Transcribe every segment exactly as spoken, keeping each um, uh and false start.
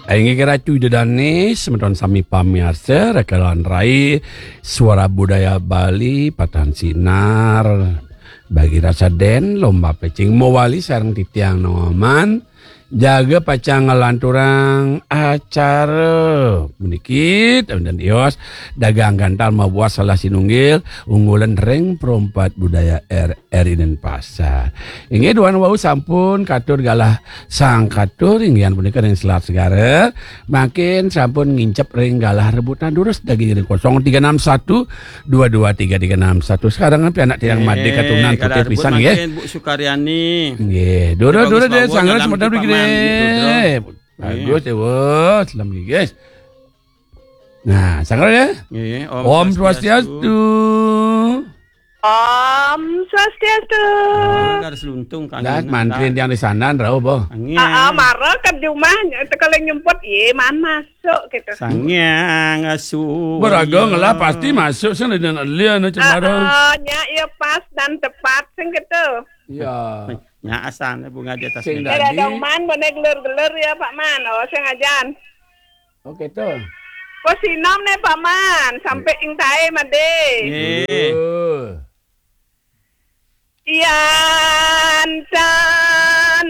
Inggih Ratu Ida Dané, semeton sami pamiarsa, Rekalan Rai, Suara Budaya Bali, Patahan Sinar, bagi rasa den, lomba pecing mawali sareng titiang Noman, jaga pacang ngalanturang acara puniki, dan ios, dagang gantal mabuat salah sinunggil, unggulan ring perompat budaya R R I Denpasar. Inggih, duaning wau sampun katur galah sang katur, inggihan punika ring Selat Segara, mangkin sampun ngincep ring galah rebutan durus daging ring kosong tiga enam satu dua dua tiga tiga enam satu. Sekarang pianak tiang Madé katunan galah tutih rebut pisan, nggih. Mangkin Bu Sukaryani. Nggih, durus, durus, durus, sanggra semeton mriki, Paman, nggih, durus. Bagus, ya, wah, selam, nggih, guys. Nah, sanggra, ya. Nggih, Om Om Swastiastu. Swastiastu. Om Swastiastu. Oh, ada seluntung, Kang. Lah, Ina, mantri lah. Tiang di sana, rauh, boh. Angin. Ah, ah, mara ke di rumah, kalau nyumput, ye, man masuk gitu. Sangyang Asu. Beraga ngelah pasti masuk, sing lian, lian, cemara. Ah, ah, nya, ya, pas dan tepat, sing gitu. Ya. Nya asal bunga di atas. Sing meja. Dadi. Ada Man, boné geler-geler ya, Pak Man. Oh, sing ajan. Oke, tuh. Kok sinom nih, Pak Man? Sampai ing tae, Madé. Nggih. Duh. Yan tan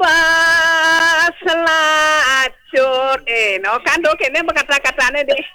bas lacur. Eh, no, kan do kene kata-katane deh.